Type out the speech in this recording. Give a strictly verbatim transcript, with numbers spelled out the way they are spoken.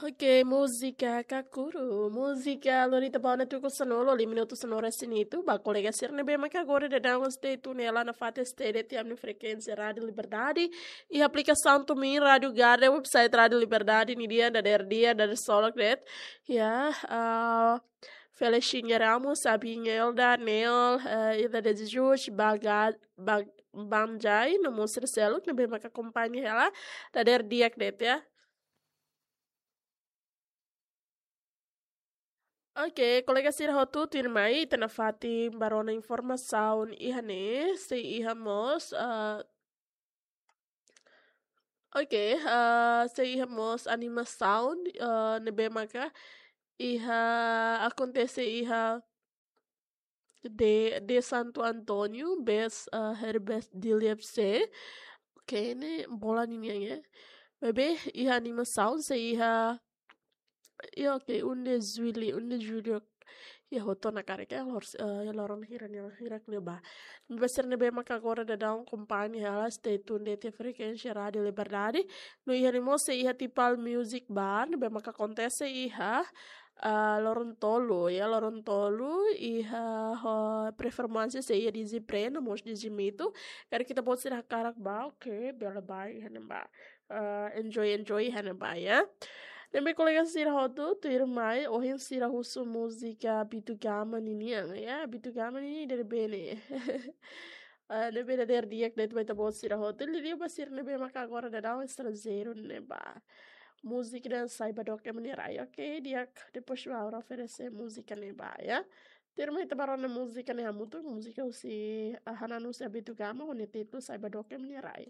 Ok, múzika Kakuru. Múzika lori ita ba ona tuku sanulu, lima minutu sanulu-resin-hitu. Ba kolega sira ne'ebé maka agora daudaun stay tune hela nafatin S T D T M no frekuénsia Rádiu Liberdade. Iha aplikasaun TuneIn, Rádiu Garden, website Rádiu Liberdade, nia dadeer di'ak, dadeer solok de'it. Ya, ah, Felicinia Ramos, Sabinha Elda, Nel, eh, Ida de Jesus, Baga-, Bag-, Banjai, no mós sira seluk ne'ebé maka akompaña hela, dadeer di'ak de'it ya. Ok, kolega sira hotu, tuirmai ita nafatin ba rona informasaun iha ne'e, sei iha mós, ah, ok, ah, sei iha mós animasaun, ah, ne'ebé maka iha, akontese iha de, de Santo António, best, ah, Herbert Dilep C. Ok, ne'e bola ninian ya. Maibé iha animasaun sei iha, ya, ok, um de julho, um de julho. Ya, hotu ona karik ya, lor-, eh, ya, loron hira ne'e, hira ne'ebá. Ba sira ne'ebé maka agora daudaun akompaña hela, stay tune de'it iha frekuénsia Rádiu Liberdade. No iha ne'e mós sei iha Tipal Music Bar, ne'ebé maka akontese iha, ah, loron tolu, ya, loron tolu, iha, ho, performance sei iha D J Pre, no mós D J Mito. Karik ita-boot sira hakarak bá, ok, bele bá iha ne'ebá. Ah, enjoy, enjoy iha ne'ebá ya. Ne'ebé kolega sira hotu, tuirmai, ohin sira husu múzika Abito Gama ninian, ya, Abito Gama ninian ida ne'ebé ne'e. Ah, ne'ebé dadeer di'ak de'it ba ita-boot sira hotu. Liuliu ba sira ne'ebé maka agora daudaun estranjeiru ne'ebá. Múzika ida Saiba Doke mak nia rai, ok, di'ak, depois Laura oferese múzika ne'ebá ya. Tuirmai ita ba rona múzika ne'e hamutuk, múzika husi, ah, Hananu husi Abito Gama, ho nia títulu Saiba Doke mak nia rai.